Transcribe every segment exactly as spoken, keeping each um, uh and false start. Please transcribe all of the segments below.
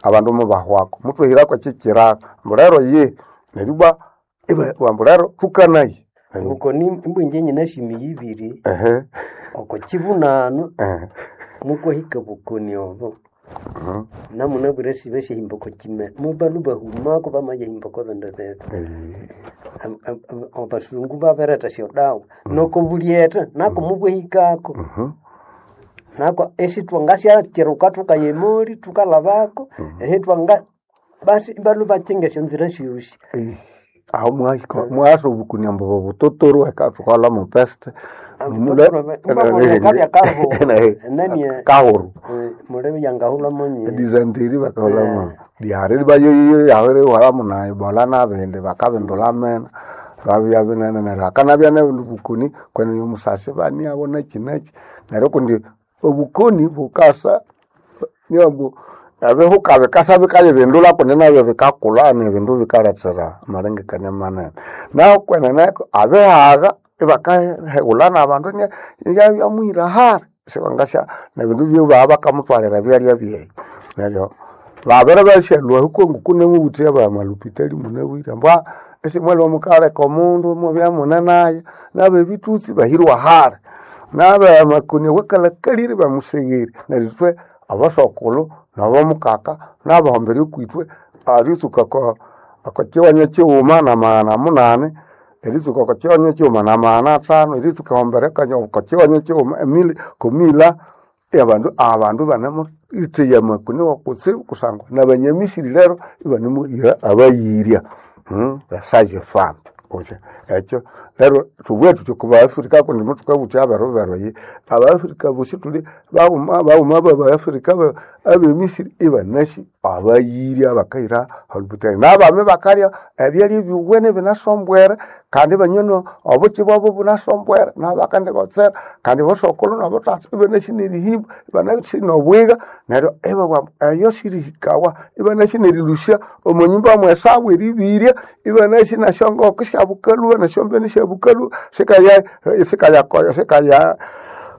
Abandu mubahwako mutwehirako ekikiraka mbulero ye neribwa mbulero tukanaye. Ngukoni imbwinje nyina shimi yibiri Ehe. oko kibunano Ehe. mukwahika bukoni obo namunabwire sibe syahimba oko kime mubalu bahumako bamayahimba oko bindu bibi. Eh, Am- am- am- abasungu babiretha esyodawa noko bulyetha nako mubwahikako nako esithwangasyakiruka thukaya emoli thukalhabako ehithwanga basi ibalwa bakyinga esyonzira syosi. Eh, aho mwahika mwasa obukoni ambu bobutotoro ekathukalha mu peste. Kabya kahuru enani kahuru mulebe yangahulha monye. Edizanteri bakahulhamu lyari libayoyo yahiri ihwalamu na ebola nabindi bakabindulha amena babya binene neryo hakanabya nebundi bukoni kwenene omusasi baniabo naki naki neryo kundi obukoni bukasa niambu ebihuka bikasa bikayibindulha kundi nabyo bikakulha nebindu bikalethera amalengekania manene. Naho kwenene abihaga ibakaheghulha nabandu yabyamuhira hali siwangasya nebindu byobaa bakamuthwalira ebyalya byeyi neryo babere basyalhwa huko nemubuthi abamalupitali munabwire ambu esimwalhwa mukaleka omundu mubya mune nayo nabebithutsi bahirwa hali nabamakoni awakalhakalire bamusegheri neryo ithwe abasokulhu nabamukaka nabahombere okwithwe eritsuka oko okokiwanya kighuma namaghana munani eritsuka oko kiwanya kighuma namaghana athanu eritsuka ehombere oko kiwanya kighuma emili komila abandu abandu banemuitheya amakoni wakutsibu kusangwa nabanyamisiri lero ibanemuhira abayirya basage femme utya ekyo lero thubughe thuthi oko baafrika kundi muthukabutha aberu beru eyi abaafrika bosi thuli baghuma baghuma babaafrika abemisiri ibanasi abayirya bakahira holupitali nabami bakalya ebyalya ebyuwene ibinasombwere kandi ibanywa obuki bwabo bunasombwere nabakandikotsera kandi bosokulhu nabothatha ibanasi nerihimba ibanasi nobwiga neryo ibabugha ambu eyo sirihikawa ibanasi nerilhusya omo nyumba mwesabu eribirya ibanasi nesyongoko syabukalhuba nesyombene syabukalhuba sikaya sikaya sikaya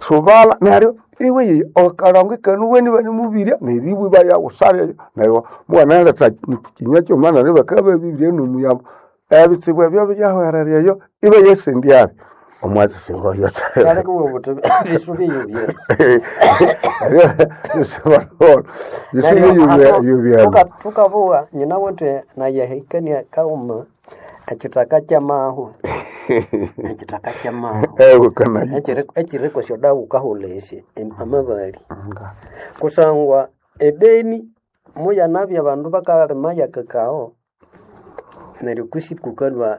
subala neryo iwe akalongo ikanuwene ibanemubirya neribwa ibayaghusalya neryo mughanaletha kinywa kighuma neryo bakababibirya nomuyambo ebitsibu ebyo byahwerera eyo ibayasendyabi omwatsi singoyo Kyaleka obuthi bisubi yubye. bisubi Thukabuwa nyina wuthi nayahikania kaghuma ekithaka kyamahwa ekithaka kyamahwa ekiri kwesyodawa wukahulha esyo amabali kusangwa ebeni muyanabya abandu bakalima yakakao neryo kwisi kukalhwa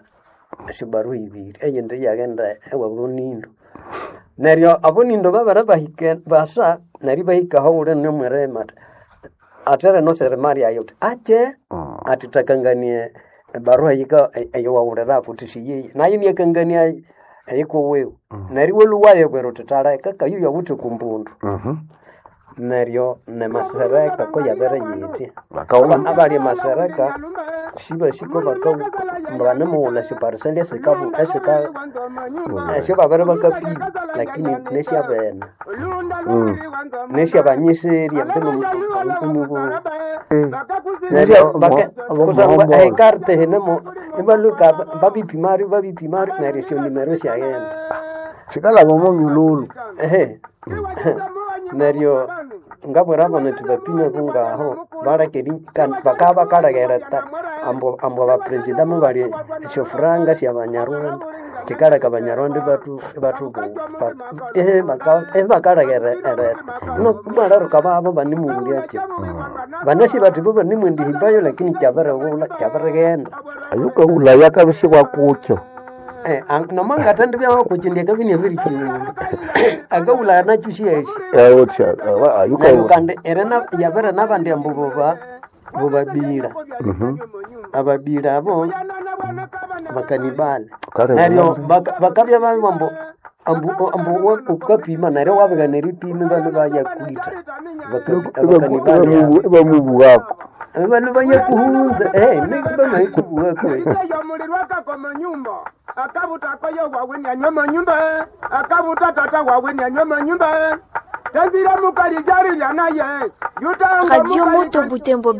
esyobaruha ibiri eyindi iyaghenda ewabonindo neryo abonindo babere bahika basa neryo ibahika ahawulhi nomwirima athi athere noserima lyayo uthi akye athi thakanganie ebaruha eyika eyawawulirako uthi siyiyi nayo inakangania eyikuwiwe neryo iwalhwa wayibwira uthi thaleka kayu yawithe okumbundu neryo nemasereka koyabere yithi abali emasereka sibasiko bakabanemughulha esyopariseli esikabu esika esyobabere bakapima lakini nesyabene nesyabanyisirya mbinu omubu neryo kusangwa ekarte hinemo ibalhuka babipimari babipimari neryo esyonimero syaghenda sikalaba omo myululu ehe neryo ngabwira abana indi bapime bungaho baleke bakabya bakaleghera ambu ambu abapresida mubali esyofuranga syabanyarwanda kikaleka abanyarwanda ibatu ehe bakaleghera ereta nomwalaruka babo banemuwulyakyo banasi bathi bo banemwendihimbayo lakini kyabirighulha kyabirighenda ayukahulhaya akabisi bwakukyo nomangathendibya kukyindi akabya inabirikyinga akahulhaya nakyo syasi neryo kandi yabere nabandi ambu boba bobabira ababira abo bakanibali neryo bakabya babibugha ambu ambu ambu wukapima neryo wabigana eripima ibalhwa bayakwitha abakanibali abo ibamubughako ibalhwa bayakuhunza bamahikubughako akabuta wawe nyanywa manyumba akabuta tata wawe nyanywa manyumba tenzira mukali jari lyanaye Radio Moto Butembo.